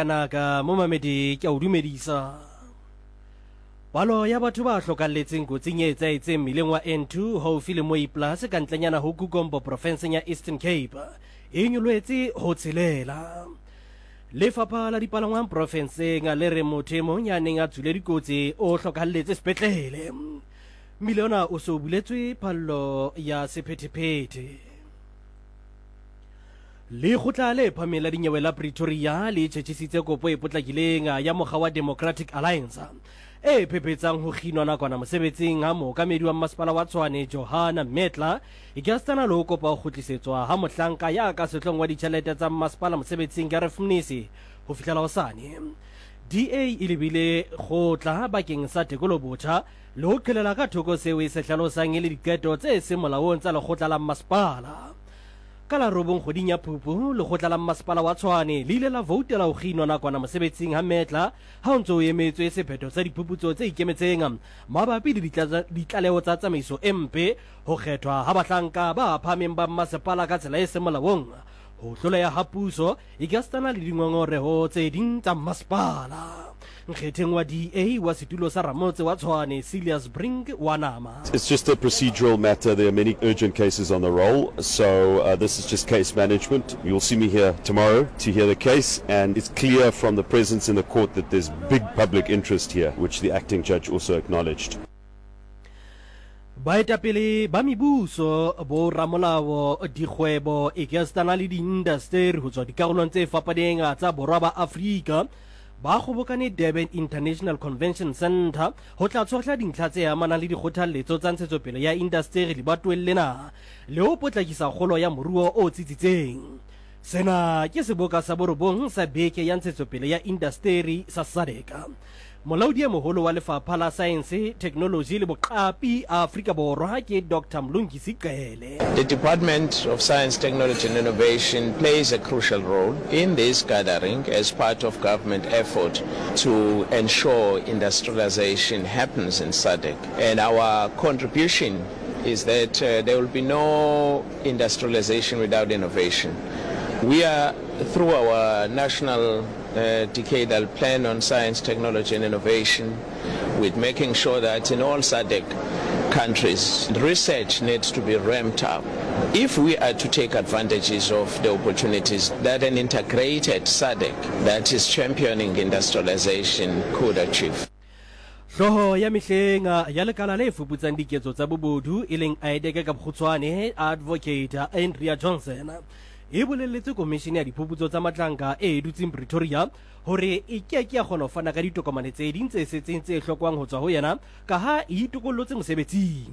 Naka momamedi ke a o dumedisa. Palo ya batho ba hlokalletseng kotsing e etsaetseng mmileng wa N2 haufi le Mooiplaas ka ntlenyana ho Kugombo profenseng ya Eastern Cape e nyoloetse ho tshelela. Lefapha la dipalangwang profenseng le re motho e mong ya neng a tswile dikotsi o hlokalletse sepetlele. Mmile ona o se o buletswe phallo ya sephethephethe. Lekgotla le phahameng la dinyewe la Pretoria le tjhetjhisitse kopo e potlakileng ya mokga wa Democratic Alliance e phephetsang ho kginwa nakwana mosebetsing ha mookamedi wa mmasepala wa Tshwane Johanna Mettler ekasitana le ho kopa ho kgutlisetswa ha mohlanka ya ka sehloohong wa ditjhelete tsa mmasepala mosebetsing Gareth Mnisi ho fihlela hosane. DA e lebile kgotla bakeng sa tekolobotjha le ho qhelela ka thoko seo e se hlalosang e le diqeto tse seng molaong tsa lekgotla la mmasepala. Ka la robong kgweding ya Phupu, lekgotla la mmasepala wa Tshwane le ile la voutela ho kginwa nakwana mosebetsing ha Mettler ha ho ntse ho emetswe sephetho sa diphuputso tse ikemetseng mabapi le ditlaleho tsa tsamaiso e mpe, ho kgethwa ha bahlanka ba phahameng ba mmasepala ka tsela e seng molaong, ho hloleha ha puso ekasitana le dingongoreho tse ding tsa mmasepala. Nkgetheng wa DA wa setulo sa ramotse wa Tshwane, Cilliers Brink wa nama. It's just a procedural matter, there are many urgent cases on the roll, so this is just case management. You'll see me here tomorrow to hear the case, and it's clear from the presence in the court that there's big public interest here, which the acting judge also acknowledged. Baetapele ba mebuso, boramolao, dikgwebo, ekasitana le diindasteri ho tswa dikarolong tse fapaneng tsa Borwa ba Afrika ba kgobokane Durban International Convention Centre ho tla tshohla dintlha tse amanang le dikgothalletso tsa ntshetsopele ya indasteri lebatoweng lena le ho potlakisa kgolo ya moruo o tsitsitseng. Sena ke seboka sa borobong sa Beke ya Ntshetsopele ya Indasteri sa SADC. Molaodi e moholo wa Lefapha la Saense, Theknoloji le Boqapi Afrika Borwa ke Doctor Mlungisi Cele. The Department of Science, Technology and Innovation plays a crucial role in this gathering as part of government effort to ensure industrialization happens in SADC. And our contribution is that there will be no industrialization without innovation. We are, through our national decadal plan on science, technology and innovation, with making sure that in all SADC countries, research needs to be ramped up if we are to take advantages of the opportunities that an integrated SADC that is championing industrialization could achieve. Hlooho ya mehleng ya lekala le fuputsang diketso tsa bobodu e leng IDAC ka bokgutshwane, Advocate Andrea Johnson, e bolelletse Komishene ya Diphuputso tsa Matlanka e dutseng Pretoria hore e ke ke ya kgona ho fana ka ditokomane tse ding tse setseng tse hlokwang ho tswa ho yena kaha e itokollotse mosebetsing.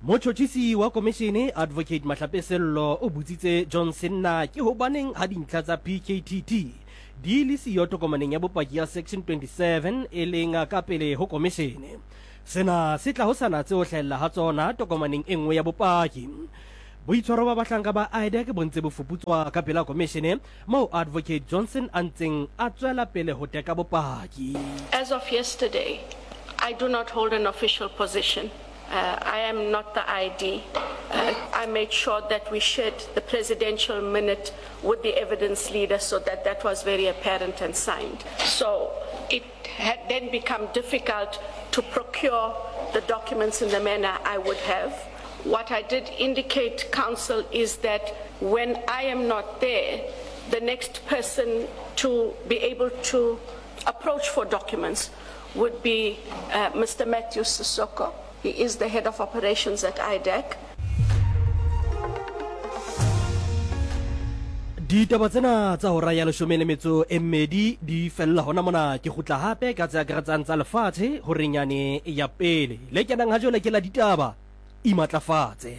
Motjhotjhisi wa komishene, Advocate Mahlape Sello, o botsitse Johnson na ke hobaneng ha dintlha tsa PKTT di le siyo tokomaneng ya bopaki ya Section 27 e leng ka pele ho komishene. Sena se tla ho sa natse ho hlahella ha tsona tokomaneng e nngwe ya bopaki. Boitshwaro ba bahlanka ba IDAC bo ntse bo fuputswa ka pela komishene moo Advocate Johnson a ntseng a tswela pele ho teka bopaki. As of yesterday, I do not hold an official position. I am not the ID. I made sure that we shared the presidential minute with the evidence leader so that that was very apparent and signed. So it had then become difficult to procure the documents in the manner I would have. What I did indicate, counsel, is that when I am not there, the next person to be able to approach for documents would be uh, Mr. Matthew Sissoko. He is the head of operations at IDAC. Ditaba tsena tsa hora ya leshome le metso e mmedi di fella hona mona. Ke kgutla hape ka tse akaretsang tsa lefatshe horeng yane ya pele. Le kenang ha jwale ke la ditaba. Imatlafatse.